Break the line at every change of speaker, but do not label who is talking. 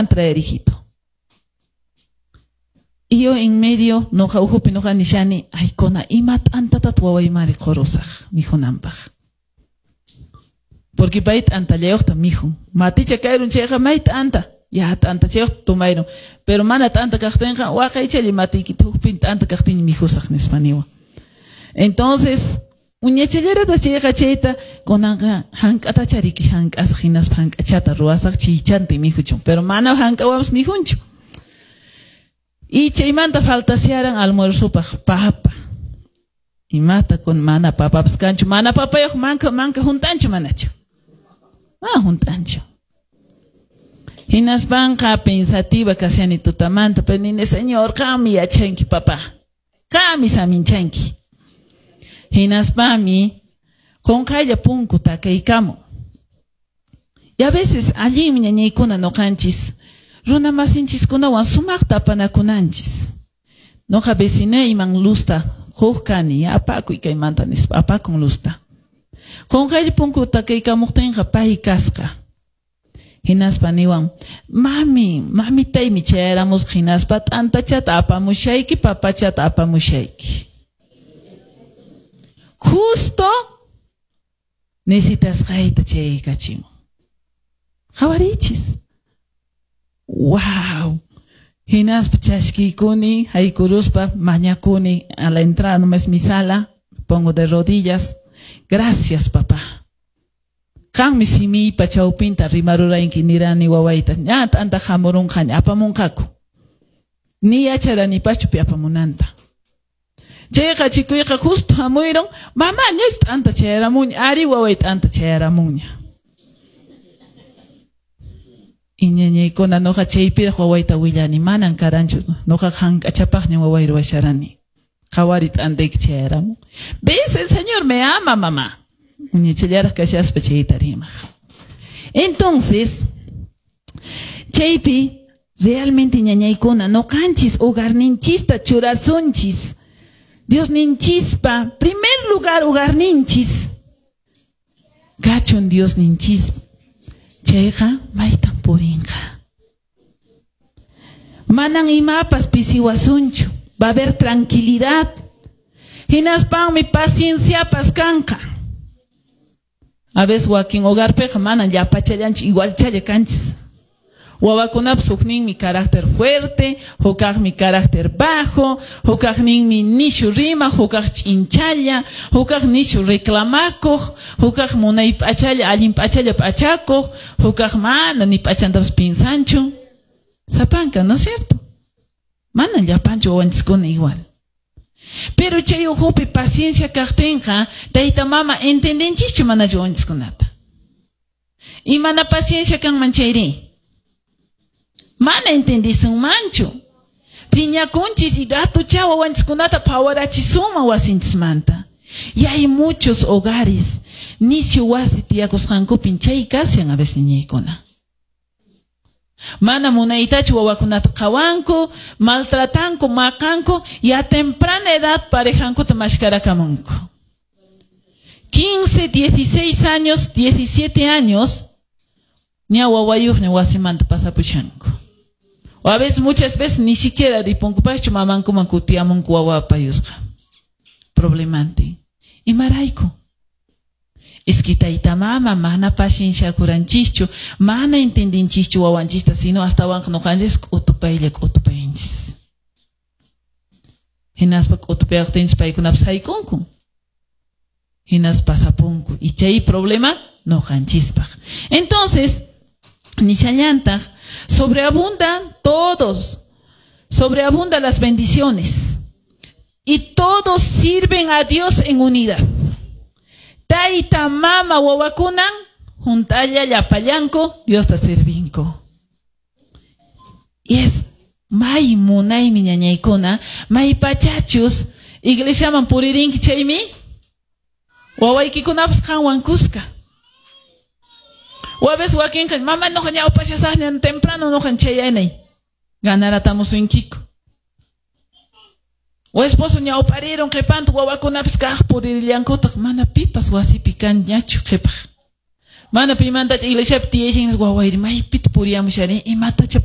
Traer, hijito. Y yo en medio, noqa uhupi noqa nishani, ay kona, ima t'antatat wawaymari qurusaq mikhunanpaq. Porque pay t'antallayuqta mikhun. Maticha kayrun chayqa may t'anta. Ya t'antachayuqta tumayrun. Pero mana t'anta kaqtinqa waqaychalla matiykita hukpin t'anta kaqtin mikhusaq nispa niwan. Entonces, uñachallarata chayqa chayta kunanqa hank'atacha riki hank'asaq hinaspa hank'achata ruwasaq chiychantin mikhuchun. Pero mana hank'awanpas mikhunchu. Y chaymanta faltasyaran almuerzopaq papa. Imata kun mana papapas kanchu, mana papayuq manka manka hunt'anchu manachu. Ah, hunt'anchu. Hinaspanqa pensativa kashani tutamanta, pero nini, Señor, qammi yachanki papá. Qammi saminchanki. Hinaspami qunqaylla punku takaykamun. Y a veces allinmi ñañaykuna noqanchis runa masinchiskunawan sumaqta apanakunanchis. Noqa vecinayman luzta huk kani, apakuy kaymanta nispa, apakun luzta. Qunqaylla punku takaykamuqtinqa pay kasqa. Hinaspa niwan, mami, mamitaymi chayaramusqa hinaspa t'antachata apamushayki, papachata apamushayki. Justo necesitasqayta chayaykachimun. Qhawarichis. Wow. Hinaspa chashkiykuni, haykuruspa mañakuni a la entrada nomás mi sala, pongo de rodillas. Gracias, papá. Qanmi simiypa chawpinta rimaruranki nirani wawayta. Ña t'anta hamurunqaña apamunqaku. Ni yacharanipachu pi apamunanta. Chayqa chikuyqa justo hamuyrun, mamá ñach t'anta chayaramunña, ari waway t'anta chayaramunña. Y ñañaykuna noqa chaypiraq wawayta willani, manan karanchu, noqa hank'achapaqña waway ruwasharani. Qhawari t'antayki chayaramun. ¿Ves? El Señor me ama, mamá. Uñachallaraq kashaspa chayta rimaq. Entonces, chaypi realmente ñañaykuna noqanchis hogarninchista churasunchis. Diosninchispa, primer lugar hogarninchis. Kachun Diosninchis. Chayqa maytan purinqa. Manan imapas pisiwasunchu. Va a haber tranquilidad. Hinaspanmi pacienciapas kanqa. A veces wakin hogarpiqa manan llapachallanchu igualchalla kanchis. Wawakunapas hukninmi carácter fuerte, hukaqmi carácter bajo, hukaqninmi nishu rimaq, hukaq ch'inchalla, hukaq nishu reclamakuq, hukaq munay p'achalla, allin p'achalla p'achakuq, hukaq mana ni p'achantapas pinsanchu. Sapanka, ¿no es cierto? Mana llapanchu wawanchiskuna igual. Pero chay ukhupi paciencia kaqtinqa, tayta mama entendenchischu manachu wawanchiskunata. Y mana paciencia kanman chayri. Mana entendisunmanchu. Phiñakunchis y ratucha wawanchiskunata phawarachisunman wasinchismanta. Y hay muchos hogares, nisyu wasi tiyakusqankupin chay kashan a veces niñaykuna. Mana munaytachu wawakunata qhawanku, maltratanku, maqanku, y a temprana edad parejankuta mashkarakamunku. 15, 16 años, 17 años, ña wawayuqña wasimanta pasapushanku. O a veces, muchas veces, ni siquiera ripunkupaschu mamankuman kutiyamunku wawapayusqa. Problemante. Imarayku. Es que tayta mama mana pacienciakuranchischu, mana entendinchischu wawanchista, sino astawanqa noqanchis k'utupaylla k'utupayanchis. Hinaspa k'utupayaqtinchis paykunapas haykunku. Hinaspa pasapunku. Y chay problema noqanchispaq. Entonces, nishallantaq, sobreabundan todos, sobreabundan las bendiciones. Y todos sirven a Dios en unidad. Tayta, mama, wawakunan, juntalla, llapallanku, Diosta servinko. Y es may munaymi ñañaykuna, may pachachus, iglesiaman puririnki chaymi, wawaykikunapas qanwan kuska. O a veces wakinqa, mama noqa ñawpashasaqña temprano noqan chayanay. Ganaratamusunkiku. O esposo ñawpariron qhipanta wawakunapas kaq puririllankutaq mana pipas wasipi kanñachu qhipaq. Mana pimantacha iglesiapi tiyashan wawayri maypita puriyamushani imatacha.